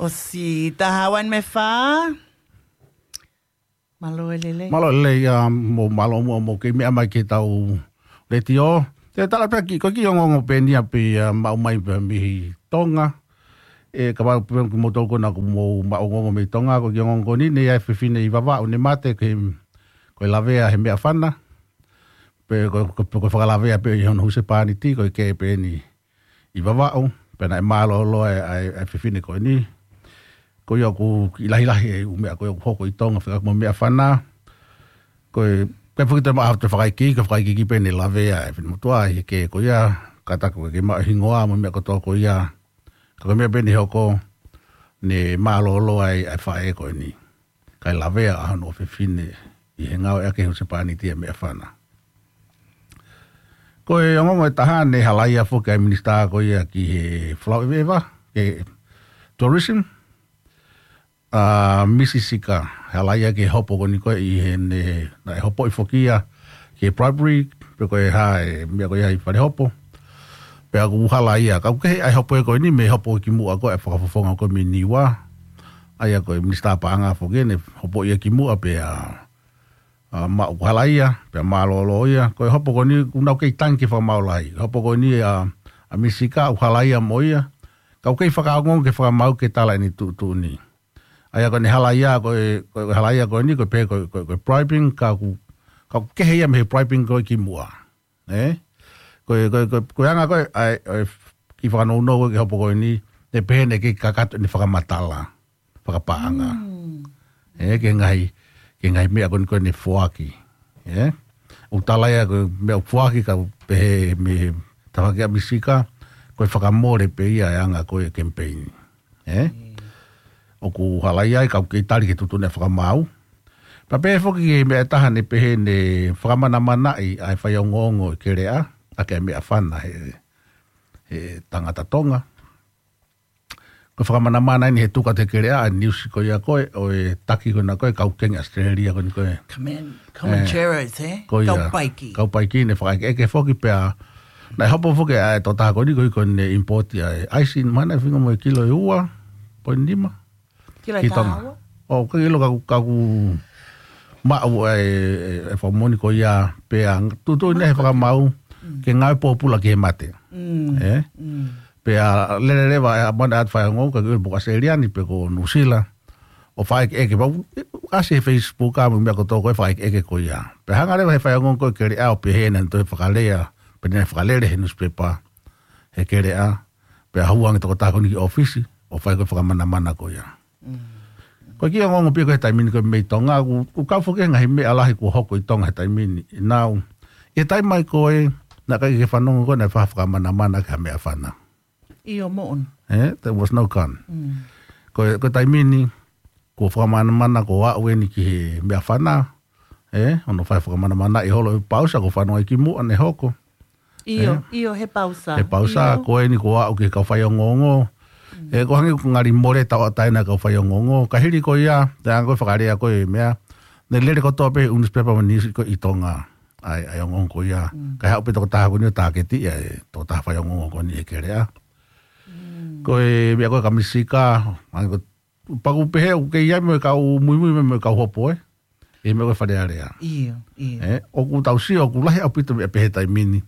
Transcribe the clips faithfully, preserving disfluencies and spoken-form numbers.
ʻOsi taha ua me fā. Mālō e lelei. Mālō e lelei, ʻa, mou mālō muʻa mou kei meʻa mai ki heʻetau letiō. Te u tala pē ki, ko e kiʻi ongoongo pē eni ia pē, ʻa, maʻu mai pē mei Tonga. ʻE, kapau pē kimoutolu ko ena ʻoku mou maʻu ongoongo mei Tonga, ko e kiʻi ongoongo ko eni, naʻe ʻi ai e fefine ʻi Vavaʻu naʻe mate, ko e, ko e lavea he meʻafana. Pe ko, ko, ko e fakalavea pē ʻi hono husepāniti, ko e kē pē eni ʻi Vavaʻu, pea naʻe mālōlō ai, ʻa e, ʻa e fefine ko eni. Ko ia ʻoku kiʻi lahilahi e ʻū meʻa ko ia ʻoku hoko ʻi Tonga, fekauʻaki mo e meʻafana. Ko e, ko e fakite ma te fakaikiiki, ko e fakaikiiki pē naʻe lavea e finemotuʻa ʻi he kē ko ia, kātaki ʻoku ʻikai ke maʻu e hingoa mo e meʻa kotoa ko ia. Ka ko e meʻa pē naʻe hoko, naʻe mālōlō ai ʻa e faʻē ko eni. Kae lavea ʻa hono ʻofefine ʻi he ngāueʻaki e husepāniti ʻa e meʻafana. Ko e ongoongo ʻe taha naʻe halaia foki ʻa e minisitā ko ia ki he folau ʻeveʻeva, ki he tourism, ʻa Misi Sika, halaia ki he hopo ko eni ko ē ʻi heʻene, naʻe hopoʻi foki ia ki he bribery, pe ko e hā e meʻa ko ia ʻi falehopo. Pea ʻoku halaia, ka ʻoku kehe ʻa e hopo ko eni mei he hopo kimuʻa ko ē ʻa e fakafofonga ko ē mei Niua. ʻA ia ko e minisitā paʻanga foki eni, hopo ia kimuʻa pea, ʻa, maʻu halaia, pea mālōlō ia. Ko e hopo ko eni, ʻoku nau kei tangi ke fakamaau lahi. Hopo ko eni ʻa, ʻa Misi Sika, ʻoku halaia mo ia. Ka ʻoku kei fakaongoongo ke fakamaau ke tala ʻene tuʻutuʻuni. ʻA ia ko ʻene halaia ko e, ko e halaia ko eni, ko e pehē ko e, ko e, ko e bribing, ka ʻoku, ka ʻoku kehe ia mei he bribing ko ē kimuʻa. ʻE? Ko e, ko e, ko e, ko e anga ko ē, ʻa e, ʻa e kiʻi fakanounou ko ē ki he hopo ko eni, naʻe pehē naʻe kei kakato ʻene fakamatala fakapaʻanga. Mm. ʻE, ki he ngaahi, ki he ngaahi meʻa ko eni ko ē naʻe foaki. ʻE? ʻOku tala ia ko e meʻa ʻoku foaki ka ʻoku pehē mei he tafaʻaki ʻa Misi Sika, ko e fakamole pē ia e anga ko ē e kemipeini. ʻE? Mm. ʻOku halaia ai ka ʻoku kei tali ke tuʻutuʻuni ʻa e fakamaau. Pea pehē foki ki he meʻa ʻe taha naʻe pehē naʻe fakamanamanaʻi ʻa e faiongoongo ʻi Keleʻa, ʻaki ʻa e meʻafana he, he tangata Tonga. Ko e fakamanamana eni he tuku atu he Keleʻa ʻa e niusi ko ia ko ē, ʻo e taki ko ena ko ē, kau Kingi ʻAositelēlia ko eni ko ē. Command, Command ʻE, Cherries, ē? Ko ia. Kau paiki. Kau paiki naʻe fakaʻekeʻeke foki pea. Naʻe hopo foki ʻa e tokotaha ko eni ko ē ko ʻene import ʻa e ʻaisi, mahalo naʻe feinga mo e kilo ʻe ua poini nima. Kilo ʻe taha ua? ʻO, ka ʻilo ka, ka ʻoku maʻu ʻa e, e, e fakamoʻoni ko ia pea tuʻutuʻuni he fakamaau, mm, ke ngāue pōpula ki he mate. Mm. ʻE? Mm. Pea lele leva ʻa e mana atu faiongoongo, ka ʻilo pe ko ʻAositelēlia ni pe ko Nuʻusila. ʻO fakaʻekeʻeke, pea ʻasi he Facebook ʻa e meʻa kotoa ko ē fakaʻekeʻeke ko ia. Pea hanga leva he faiongoongo ko ē Keleʻa ʻo pehē naʻe toe fakalea, pe naʻe fakalele he newspaper he Keleʻa, pea hū ange tokotaha ko eni ki ʻōfisi, ʻo fai ko ē fakamanamana ko ia. Mm. Ko e kiʻi ongoongo pē ko ē he taimi ni ko ē mei Tonga, ʻoku, ʻoku kau foki he ngaahi meʻa lahi kuo hoko ʻi Tonga he taimi ni, ʻi nau. ʻI he taimi mai ko ē, naʻe ʻikai ke fanongo ko ē naʻe fai ha fakamanamana ki ha meʻafana. ʻIo moʻoni. ʻE, there was no gun. Mm. Ko e, ko e taimi ni, kuo fakamanamana kuo aʻu eni ki he meʻafana, ʻe, hono fai fakamanamanaʻi holo ʻe he pausa, kuo fanongo ai kimuʻa naʻe hoko. ʻIo, ʻe? ʻIo, he pausa. He pausa, ʻio. Ko eni kuo aʻu ki he kau faiongoongo. Mm. ʻE, ʻoku hangē ʻoku ngali mole tauʻatāina kau faiongoongo. Ka hili ko ia, te anga ko ē fakalea ko ē meʻa. Naʻe lele kotoa pē ʻū newspaper mo e niusi ko ē ʻi Tonga. ʻA e, ʻa e ongoongo ko ia. Mm. Kae haʻu pē tokotaha ko eni ʻo tāketiʻi ʻa e tokotaha faiongoongo ko eni he Keleʻa. Mm. Ko e meʻa ko ē kia Misi Sika, hangē ko, pea ʻoku pehē ʻoku kei ʻi ai mo e kau muimui mo e kau hopo, ē. ʻI he meʻa ko ē Fale Alea. ʻIo, ʻio. ʻE, ʻoku tau sio, ʻoku lahi ʻaupito meʻa pehē taimi ni.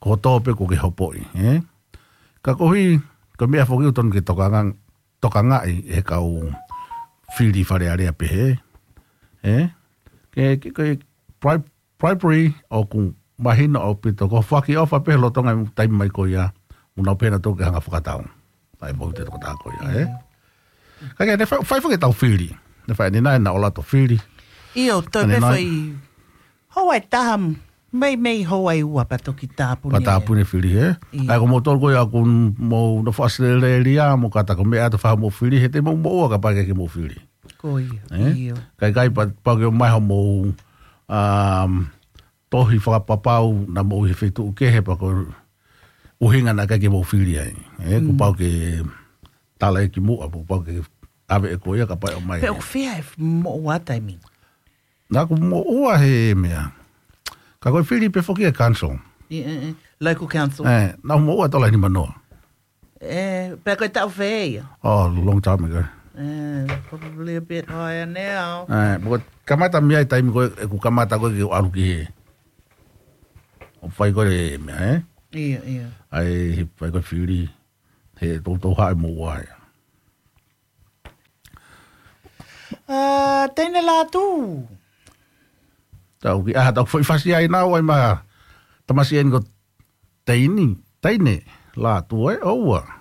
Ko hoto pē kuo ke hopoʻi, ē. Ka koeʻuhi, ko e meʻa foki ʻoku totonu ke tokanga, tokangaʻi ʻe he kau fili Fale Alea pehē. ʻE? Ke, ke, ke bribe-, bribery ʻoku mahino ʻaupito. Ko e foaki ʻofa pē lolotonga e taimi mai ko ia. Mo nau pehē naʻa tau ke hanga fakatau. ʻA e moʻui ʻa e tokotaha ko ia, ē? ʻIo. Ka ke, naʻe fai, fai foki ʻetau fili. Naʻe fai ʻanenai, naʻa ʻola ʻetau fili. ʻIo, toe pē ʻanenai. Fai houa ʻe taha, mei, mei houa ʻe ua pea toki tāpuni. Pea tāpuni e fili, ē? ʻIo. ʻA ia ko moutolu ko ia ʻoku mou nofo ʻAositelēlia, mou kātaki ʻo meʻa atu ʻo fai hoʻomou fili, he te mou moʻua kapau ʻikai ke mou fili. Ko ia, ē? ʻIo. Kae ʻikai pea, pau ke ʻomai hoʻomou, um, tohi fakapapau naʻa mou ʻi he feituʻu kehe pea ko e ʻuhinga naʻe ʻikai ke mou fili ai. ʻE, kuo Mm. pau ke tala ʻe kimuʻa, kuo pau ke ʻave ʻe koe ia kapau ʻe ʻomai. Pea ʻoku fiha e moʻua taimi ni? Naʻa ku moʻua he meʻa. Ka ko e fili pē foki e council. ʻI, ʻe, ʻe, local council. ʻE, naʻa ku moʻua tola ni manoa. Eh, pea ko e taʻu fē ia? Oh, long time ago. Eh, probably a bit higher now. Eh, pea ko e kamata mei ai taimi ko ē, ʻeku kamata ko ē ke u ʻalu ki hē. ʻO fai ko ē meʻa, eh? Ia, ia. ʻAi, he fai ko ē fili. He toutou haʻi mo ua ia. Ah, Teine Lātū. Tau ki, ah, tau foʻi fasi ai nau ai ma tamasiʻi eni ko Teini, Teine Lātū, eh, ʻoua.